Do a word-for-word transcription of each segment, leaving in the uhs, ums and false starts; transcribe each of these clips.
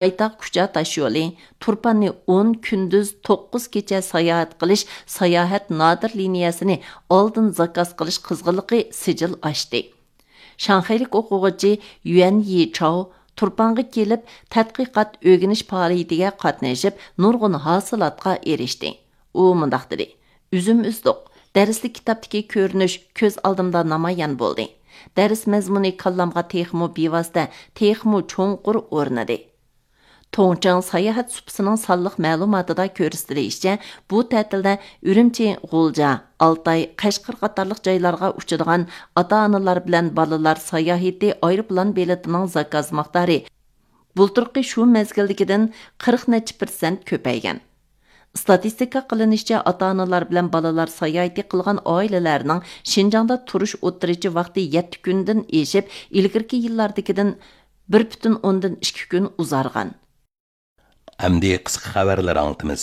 پايتاغ كۇچا تاشيولى، تۇرپاننى ئون كۈندۈز توققۇز كېچە ساياھەت قىلىش ساياھەت نادىر لىنىيەسىنى ئالدىن زاكاز قىلىش قىزغىنلىقى سىجىل ئاشتى. شاڭخەيلىك ئوقۇغۇچى يۈەن يىچاۋ تۇرپانغا كېلىپ، تەتقىقات ئۆگىنىش پائالىيىتىگە قاتنىشىپ، نۇرغۇن ھاسىلاتقا ئېرىشتى. ئۇ مۇنداق دېدى: «ئۈزۈم ئۈزدۇق. دەرسلىك كىتابتىكى كۆرۈنۈش كۆز ئالدىمدا نامايان بولدى. دەرس مەزمۇنى كاللامغا تېخىمۇ بىۋاسىتە، تېخىمۇ چوڭقۇر ئورنىدى.» توڭچاڭ ساياھەت سۇپىسىنىڭ سانلىق مەلۇماتىدا كۆرسىتىلىشىچە، بۇ تەتىلدە ئۈرۈمچى، غۇلجا، ئالتاي، قەشقەر قاتارلىق جايلارغا ئۇچىدىغان ئاتا-ئانىلار بىلەن بالىلار ساياھىتى ئايروپىلان بېلىتىنىڭ زاكاز مىقدارى بۇلتۇرقى شۇ مەزگىلدىكىدىن قىرىق نەچچە پىرسەنت كۆپەيگەن. ئىستاتىستىكا قىلىنىشىچە، ئاتا-ئانىلار بىلەن بالىلار ساياھىتى قىلغان ئائىلىلەرنىڭ شىنجاڭدا تۇرۇش ئوتتۇرىچە ۋاقتى يەتتە كۈندىن ئېشىپ، ئىلگىرىكى يىللاردىكىدىن بىر پۈتۈن ئوندىن ئىككى كۈن ئۇزارغان. ئەمدى قىسقا خەۋەرلەر ئاڭلىتىمىز.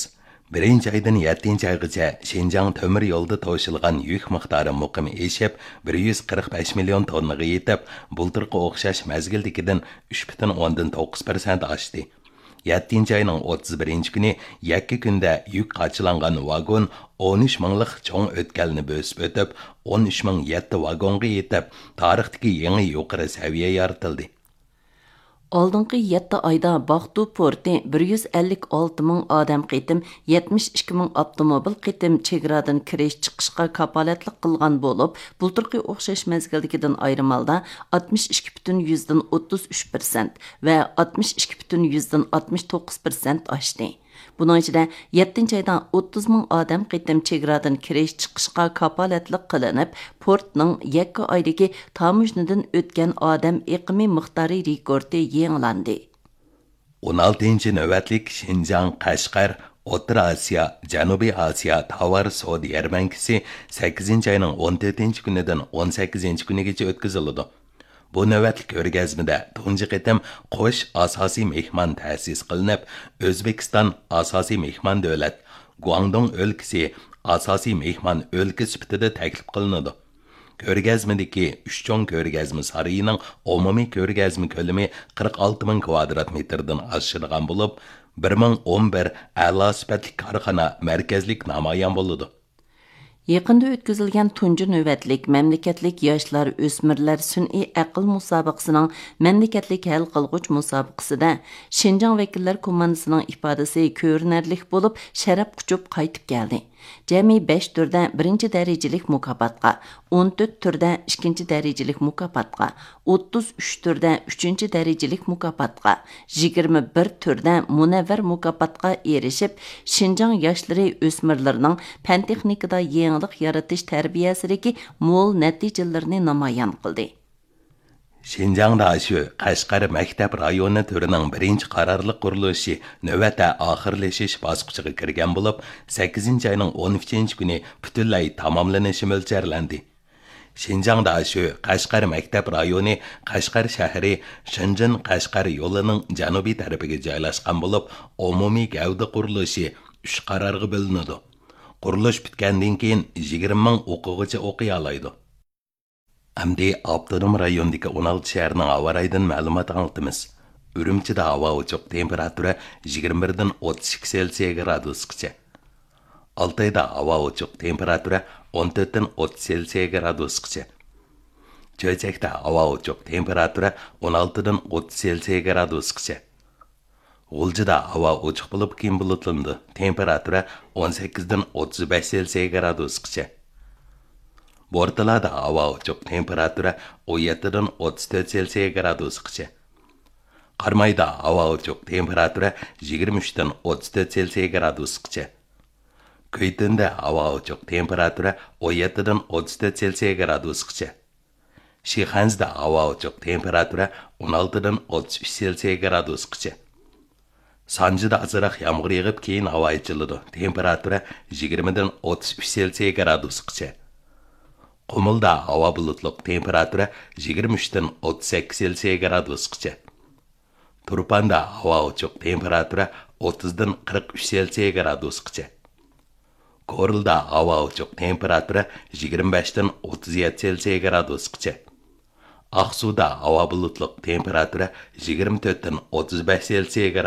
بىرىنچى ئايدىن يەتتىنچى ئايغىچە شىنجاڭ تۆمۈر يولىدا توشۇلغان يۈك مىقدارى مۇقىم ئېشىپ، بىر يۈز قىرىق بەش مىليون توننىغا يېتىپ، بۇلتۇرقى ئوخشاش مەزگىلدىكىدىن ئۈچ پۈتۈن ئوندىن توققۇز پىرسەنت ئاشتى. يەتتىنچى ئاينىڭ ئوتتۇز بىرىنچى كۈنى يەككە كۈندە يۈك قاچىلانغان ۋاگون ئون ئۈچ مىڭلىق چوڭ ئۆتكەلنى بۆسۈپ ئۆتۈپ، ئون ئۈچ مىڭ يەتتە ۋاگونغا يېتىپ، تارىختىكى يېڭى يۇقىرى سەۋىيە يارىتىلدى. ئالدىنقى يەتتە ئايدا باقتۇ پورتى بىر يۈز ئەللىك ئالتە مىڭ ئادەم قېتىم، يەتمىش ئىككى مىڭ ئاپتوموبىل قېتىم چېگرادىن كىرىش چىقىشقا كاپالەتلىك قىلغان بولۇپ، بۇلتۇرقى ئوخشاش مەزگىلدىكىدىن ئايرىم ھالدا ئاتمىش ئىككى پۈتۈن يۈزدىن ئوتتۇز ئۈچ پىرسەنت ۋە ئاتمىش ئىككى پۈتۈن يۈزدىن ئاتمىش توققۇز پىرسەنت ئاشتى. بۇنىڭ ئىچىدە يەتتىنچى ئايدا ئوتتۇز مىڭ ئادەم قېتىم چېگرادىن كىرىش چىقىشقا كاپالەتلىك قىلىنىپ، پورتنىڭ يەككە ئايدىكى تاموژنىدىن ئۆتكەن ئادەم ئېقىمى مىقدارى رېكورتى يېڭىلاندى. ئون ئالتىنچى نۆۋەتلىك شىنجاڭ قەشقەر ئوتتۇرا ئاسىيا، جەنۇبىي ئاسىيا تاۋار سودا يەرمەنكىسى سەككىزىنچى ئاينىڭ ئون تۆتىنچى كۈنىدىن ئون سەككىزىنچى كۈنىگىچە ئۆتكۈزۈلىدۇ. بۇ نۆۋەتلىك كۆرگەزمىدە تۇنجى قېتىم قوش ئاساسىي مېھمان تەسىس قىلىنىپ، ئۆزبېكىستان ئاساسىي مېھمان دۆلەت، گۇاڭدۇڭ ئۆلكىسى ئاساسىي مېھمان ئۆلكە سۈپىتىدە تەكلىپ قىلىنىدۇ. كۆرگەزمىدىكى ئۈچ چوڭ كۆرگەزمە سارىيىنىڭ ئومۇمىي كۆرگەزمە كۆلىمى قىرىق ئالتە مىڭ كۋادرات مېتىردىن ئاشىدىغان بولۇپ، بىر مىڭ ئون بىر ئەلا سۈپەتلىك كارخانا مەركەزلىك نامايان بولىدۇ. يېقىندا ئۆتكۈزۈلگەن تۇنجى نۆۋەتلىك مەملىكەتلىك ياشلار، ئۆسمۈرلەر سۈنئىي ئەقىل مۇسابىقىسىنىڭ مەملىكەتلىك ھەل قىلغۇچ مۇسابىقىسىدە شىنجاڭ ۋەكىللەر كوماندىسىنىڭ ئىپادىسى كۆرۈنەرلىك بولۇپ، شەرەپ قۇچۇپ قايتىپ كەلدى. جەمئىي بەش تۈردە بىرىنچى دەرىجىلىك مۇكاپاتقا، ئون تۆت تۈردە ئىككىنچى دەرىجىلىك مۇكاپاتقا، ئوتتۇز ئۈچ تۈردە ئۈچىنچى دەرىجىلىك مۇكاپاتقا، يىگىرمە بىر تۈردە مۇنەۋۋەر مۇكاپاتقا ئېرىشىپ، شىنجاڭ ياشلىرى، ئۆسمۈرلىرىنىڭ پەن-تېخنىكىدا يېڭىلىق يارىتىش تەربىيەسىدىكى مول نەتىجىلىرىنى نامايان قىلدى. شىنجاڭ داشۆ قەشقەر مەكتەپ رايونى تۈرىنىڭ بىرىنچى قارارلىق قۇرۇلۇشى نۆۋەتتە ئاخىرلىشىش باسقۇچىغا كىرگەن بولۇپ، سەككىزىنچى ئاينىڭ ئون ئۈچىنچى كۈنى پۈتۈنلەي تاماملىنىشى مۆلچەرلەندى. شىنجاڭ داشۆ قەشقەر مەكتەپ رايونى قەشقەر شەھىرى شېنجېن قەشقەر يولىنىڭ جەنۇبىي تەرىپىگە جايلاشقان بولۇپ، ئومۇمىي گەۋدە قۇرۇلۇشى ئۈچ قارارغا بۆلۈنىدۇ. قۇرۇلۇش پۈتكەندىن كېيىن يىگىرمە مىڭ ئوقۇغۇچى ئوقۇيالايدۇ. ئەمدى ئاپتونوم رايوندىكى ئون ئالتە شەھەرنىڭ ھاۋا رايىدىن مەلۇمات ئاڭلىتىمىز. ئۈرۈمچىدە ھاۋا ئوچۇق، تېمپېراتۇرا يىگىرمە بىردىن ئوتتۇز ئىككى سېلسىيە گرادۇسقىچە. ئالتايدا ھاۋا ئوچۇق، تېمپېراتۇرا ئون تۆتتىن ئوتتۇز سېلسىيە گرادۇسقىچە. چۆچەكتە ھاۋا ئوچۇق، تېمپېراتۇرا ئون ئالتىدىن ئوتتۇز سېلسىيە گرادۇسقىچە. غۇلجىدا ھاۋا ئوچۇق بولۇپ، كېيىن بۇلۇتلىنىدۇ، تېمپېراتۇرا ئون سەككىزدىن ئوتتۇز بەش سېلسىيە گرادۇسقىچە. بورتالادا ھاۋا ئوچۇق، تېمپېراتۇرا ئون يەتتىدىن ئوتتۇز تۆت سېلسىيە گرادۇسقىچە. قارامايدا ھاۋا ئوچۇق، تېمپېراتۇرا يىگىرمە ئۈچتىن ئوتتۇز تۆت سېلسىيە گرادۇسقىچە. كۈيتۈندە ھاۋا ئوچۇق، تېمپېراتۇرا ئون يەتتىدىن ئوتتۇز تۆت سېلسىيە گرادۇسقىچە. شىخەنزىدە ھاۋا ئوچۇق، تېمپېراتۇرا ئون ئالتىدىن ئوتتۇز ئۈچ سېلسىيە گرادۇسقىچە. سانجىدا ئازراق يامغۇر يېغىپ، كېيىن ھاۋا ئېچىلىدۇ، تېمپېراتۇرا يىگىرمىدىن ئوتتۇز ئۈچ سېلسىيە گرادۇسقىچە. قۇمۇلدا ھاۋا بۇلۇتلۇق، تېمپېراتۇرا يىگىرمە ئۈچتىن ئوتتۇز سەككىز سېلسىيە گرادۇسقىچە. تۇرپاندا ھاۋا ئوچۇق، تېمپېراتۇرا ئوتتۇزدىن قىرىق ئۈچ سېلسىيە گرادۇسقىچە. كورلىدا ھاۋا ئوچۇق، تېمپېراتۇرا يىگىرمە بەشتىن ئوتتۇز يەتتە سېلسىيە گرادۇسقىچە. ئاقسۇدا ھاۋا بۇلۇتلۇق، تېمپېراتۇرا يىگىرمە تۆتتىن ئوتتۇز بەش سېلسىيە گرادۇس.